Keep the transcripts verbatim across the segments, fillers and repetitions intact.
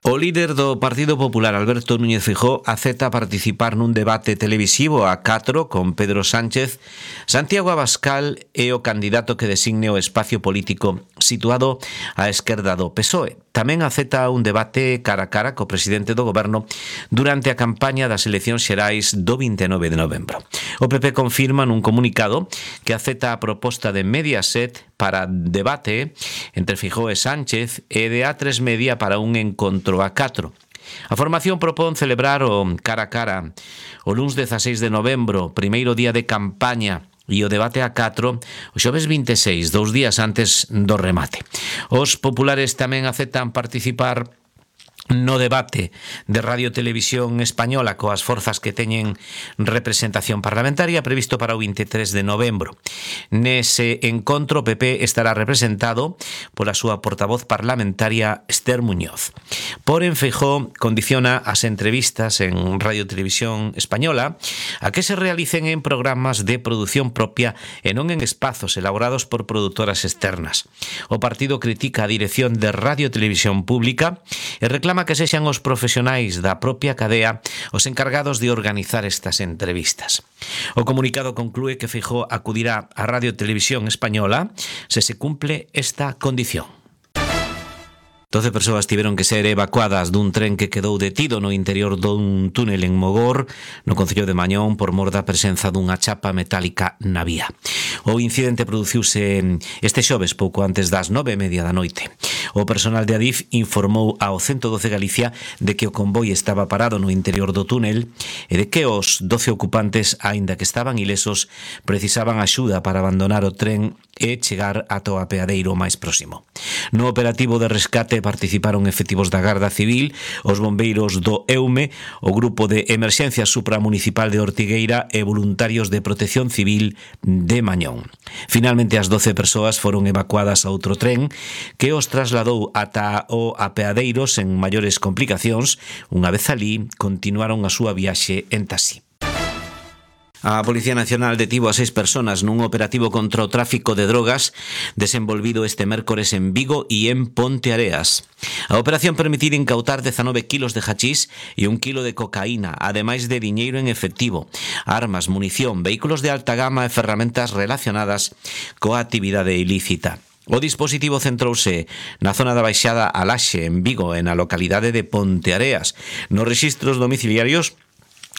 O líder do Partido Popular, Alberto Núñez Feijóo, acepta participar nun debate televisivo a catro con Pedro Sánchez. Santiago Abascal é o candidato que designe o espacio político situado á esquerda do P S O E. Tamén acepta un debate cara a cara co presidente do goberno durante a campaña das eleccións xerais do vinte e nove de novembro. O P P confirma nun comunicado que acepta a proposta de Mediaset para debate entre Feijóo e Sánchez e de A tres Media para un encontro a catro. A formación propón celebrar o cara a cara o luns dezaseis de novembro, primeiro día de campaña, e o debate a catro o xoves vinte e seis, dous días antes do remate. Os populares tamén aceptan participar no debate de Radio Televisión Española coas forzas que teñen representación parlamentaria previsto para o vinte e tres de novembro. Nese encontro o P P estará representado pola súa portavoz parlamentaria Esther Muñoz. Porén, Feijóo condiciona as entrevistas en Radio Televisión Española a que se realicen en programas de produción propia e non en espazos elaborados por produtoras externas. O partido critica a dirección de Radio Televisión Pública e reclama que sexan os profesionais da propia cadea os encargados de organizar estas entrevistas. O comunicado conclúe que Feijóo acudirá a Radio Televisión Española se se cumple esta condición. doce persoas tiveron que ser evacuadas dun tren que quedou detido no interior dun túnel en Mogor, no concello de Mañón, por mor da presenza dunha chapa metálica na vía. O incidente produciuse este xoves pouco antes das nove e media da noite. O personal de Adif informou ao ciento doce Galicia de que o convoi estaba parado no interior do túnel e de que os doce ocupantes, aínda que estaban ilesos, precisaban axuda para abandonar o tren e chegar ata o apeadeiro máis próximo. No operativo de rescate participaron efectivos da Garda Civil, os bombeiros do EUME, o Grupo de Emerxencia Supramunicipal de Ortigueira e voluntarios de Protección Civil de Mañón. Finalmente, as doce persoas foron evacuadas a outro tren que os trasladou ata o apeadeiro sen maiores complicacións. Unha vez alí, continuaron a súa viaxe en taxi. A Policía Nacional detivo a seis personas nun operativo contra o tráfico de drogas desenvolvido este mércores en Vigo e en Ponteareas. A operación permitir incautar dezanove kilos de hachís e un kilo de cocaína, ademais de diñeiro en efectivo, armas, munición, vehículos de alta gama e ferramentas relacionadas coa actividade ilícita. O dispositivo centrouse na zona da Baixada a Laxe, en Vigo, e na localidade de Ponteareas. Nos rexistros domiciliarios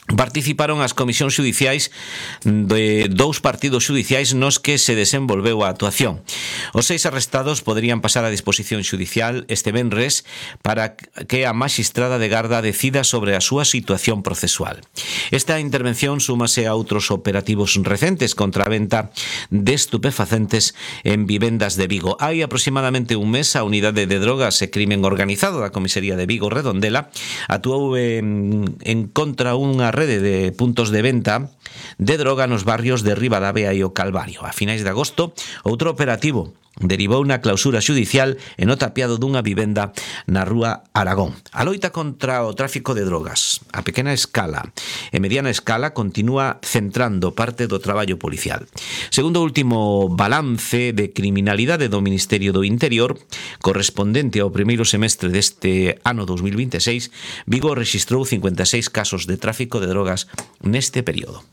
participaron as comisións xudiciais de dous partidos xudiciais nos que se desenvolveu a actuación. Os seis arrestados poderían pasar a disposición xudicial este venres para que a maxistrada de Garda decida sobre a súa situación procesual. Esta intervención súmase a outros operativos recentes contra a venta de estupefacentes en vivendas de Vigo. Hai aproximadamente un mes a Unidade de Drogas e Crimen Organizado da Comisaría de Vigo Redondela actuou en, en contra unha rede de puntos de venta de droga nos barrios de Ribadavia e o Calvario. A finais de agosto, outro operativo derivou na clausura xudicial e no tapiado dunha vivenda na rúa Aragón. A loita contra o tráfico de drogas a pequena escala e mediana escala continúa centrando parte do traballo policial. Segundo o último balance de criminalidade do Ministerio do Interior, correspondente ao primeiro semestre deste ano dos mil vinte e seis, Vigo rexistrou cincuenta e seis casos de tráfico de drogas neste período.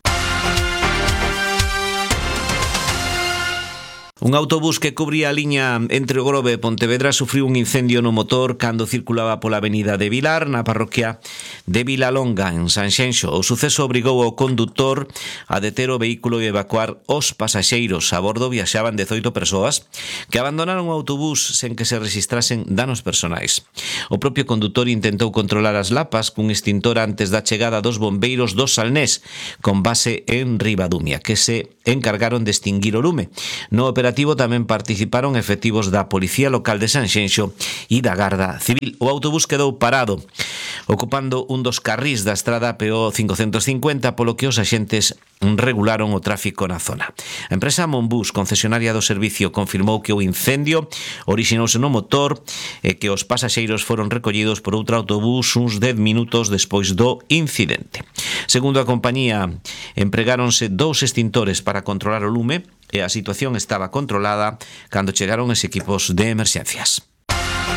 Un autobús que cubría a liña entre o Grove e Pontevedra sufriu un incendio no motor cando circulaba pola avenida de Vilar, na parroquia de Vilalonga, en Sanxenxo. O suceso obrigou ao condutor a deter o vehículo e evacuar os pasaxeiros. A bordo viaxaban dezoito persoas que abandonaron o autobús sen que se registrasen danos personais. O propio condutor intentou controlar as lapas cun extintor antes da chegada dos bombeiros do Salnés, con base en Ribadumia, que se encargaron de extinguir o lume. No operativo tamén participaron efectivos da Policía Local de Sanxenxo e da Garda Civil. O autobús quedou parado, ocupando un dos carrís da estrada P O cincocentos cincuenta, polo que os axentes regularon o tráfico na zona. A empresa Monbus, concesionaria do servicio, confirmou que o incendio orixinouse no motor e que os pasaxeiros foron recollidos por outro autobús uns dez minutos despois do incidente. Segundo a compañía, empregáronse dous extintores para controlar o lume e a situación estaba controlada cando chegaron os equipos de emerxencias.